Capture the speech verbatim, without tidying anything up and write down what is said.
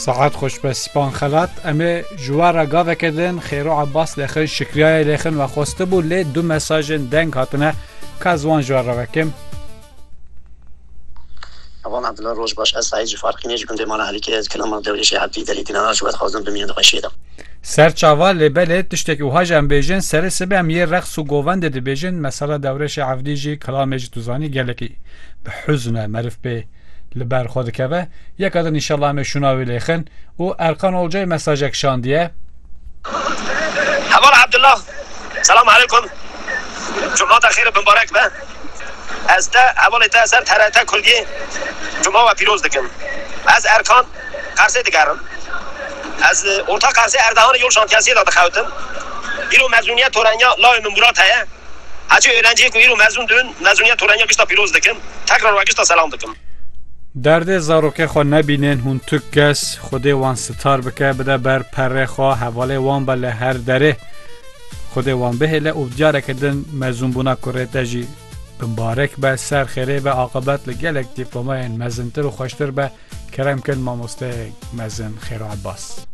Saet xweş be Span Xelat. Em ê ji we re gaveke din Xêro Abbas lêxin, Şikriyayê lêxin ve xwestibû, lê du mesajên deng hatine, ka ez wan ji we re vekim. Heval Abdullah, roj baş. Ez Saîd ji Farqînê, ji gundê Mala Helîkê, ez kilama Dewrêşê Ebdî, Delî Dînara ji we dixwazim bimînin di xweşiyê de. Ser çava, lê belê tiştekî wiha jî em bêjin, serê sibê em yê reqs û govendê dibêjin, mesela Dewrêşê Evdî jî kilamê jî tu zanî gelekî bi huzn e, meriv pê li ber xwe dikeve. Yeka din înşallah em ê şûna wî lêxin. Û Erkan Olcay mesajek şandiye. Heval Abdullah, selam aleykum. Cuma te xêr û bimbarek be. Ez te, hevalê te ser T R T Kurdiyê Cuma we pîroz dikim. Ez Erkan, Qersê digerim. Ez, e, orta Qersê Erdehanê yol şantiyesiyê de dixewitim. Îro mezûniyet torenya lawê min Murat heye. Hecî öğrenciyê ku îro mezûn dibin, mezûniyet torenya gişta pîroz dikim. Tekrar we gişta selam dikim. Derdê zarokê xwe nebînin hûn tu kes, Xwedê wan sitar bike, bide ber perê xwe, hevalê wan be li her derê. Xwedê wan bihêle û diyareke din mezûnbûna kurê te jî bimbarek be, ser xêrê be, aqibet li gelek dîplomayên mezintir û xweştir be. Kerem kin mamosteyê mezin Xêro Abbas.